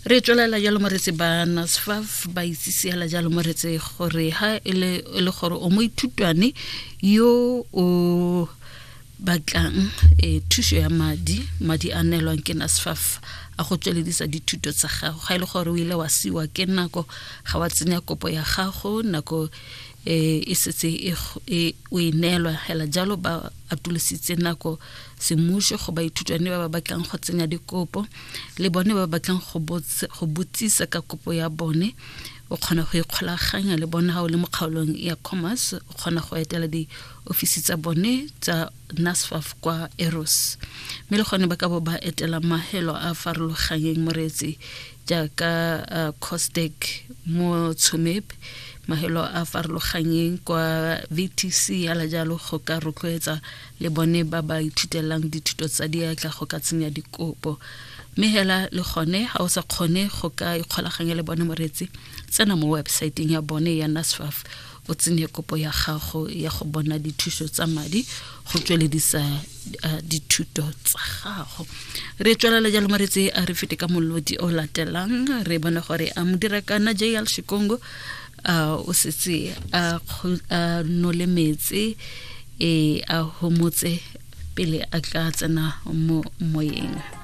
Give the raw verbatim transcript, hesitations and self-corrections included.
Re tswelela jalo moretsi ba NSFAF ba itsise hela jalo moretsi gore ha e le e le gore o moithutwane yo o batlang e thuso ya madi, madi a neelwang ke NSFAF a go tsweledisa dithuto tsa gago. Ga e le gore o ile wa siwa ke nako, ga wa tsenya kopo ya gago nako e e setse e e o e neelwa hela jalo, ba atolositse nako semmušo go baithutwane ba ba batlang go tsenya dikopo le bone ba ba batlang go go botsisa ka kopo ya bone. O kgona go ikgolaganya le bone ha o le mo kgaolong ya Commerce, o kgona go etela diofisi tsa bone tsa NSFAF kwa Eros, mme le gone ba ka bo ba etela mahelo a farologanyeng moreetsi jaaka uh, Costec mo Tsumeb, mahelo a farologanyeng kwa V T C yala jalo, go ka rotloetsa le bone ba ba ithutelang dithuto tsa diatla go ka tsenya dikopo. Mme hela le gone ha o sa kgone go ka ikgolaganya le bone moreetsi, tsena mo websaeteng ya bone ya NSFAF o tsenye kopo ya gago ya go bona dithuso tsa madi go tsweledisa uh, dithuto tsa gago. Re tswelela jalo moreetsi, a re fete ka molodi o latelang, re bone gore a modira kana J L Shikongo uh, o setse a a nole metsi e a homotse pele a tla tsena mo moyeng.